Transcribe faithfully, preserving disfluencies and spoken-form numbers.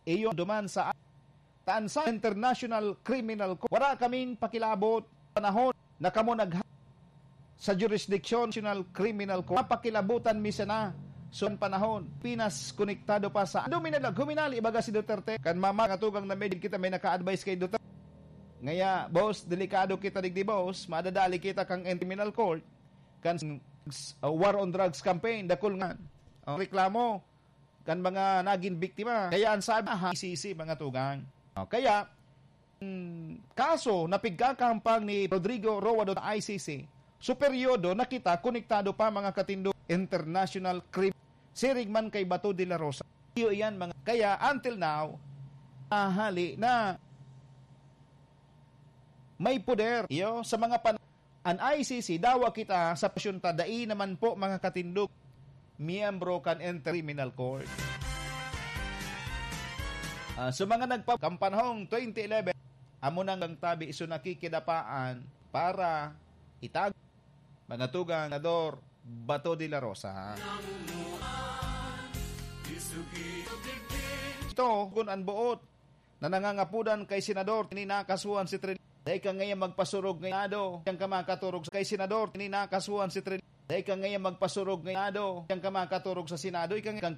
iyo duman sa taan sa International Criminal Court. Wala kaming pakilabot panahon na kamo nagha-, sa jurisdiction International Criminal Court. Pakilabutan mi sana. So, panahon, Pinas konektado pa sa dominalag huminali, baga si Duterte. Kan mama, nga tugang na medyo kita may naka-advise kay Duterte. Ngaya, boss, delikado kita digdi, boss. Madadali kita kang criminal court. Kan, uh, war on drugs campaign, dakul nga ang reklamo kan mga nagin biktima. Kaya ang sabi, aha, I C C, mga tugang. O, kaya, hmm, kaso na pigkakahampang ni Rodrigo Roa do I C C, so peryodo na kita konektado pa, mga katindog, international crime. Siring man kay Bato de la Rosa. Iyo iyan, mga, kaya until now, ahali na may poder. Iyo, sa mga pan-, an I C C, dawa kita sa pasyon ta, dai naman po, mga katindog, miyembro kan Inter-Criminal Court. Ah, sa mga nagpa-, kan panahong twenty eleven, amo nang tabi, so nakikidapaan para itag-, mga tugang, Senador Bato de la Rosa. Ito, kun an boot na nangangapodan kay Senador, ini nakasuhan si Trin-, dai ka ngayon magpasurog ngayado, diyan ka makaturog kay Senador, ini nakasuhan si Trin-, dai ka ngayon magpasurog ngayado, diyan ka makaturog sa Senado, ika nga kang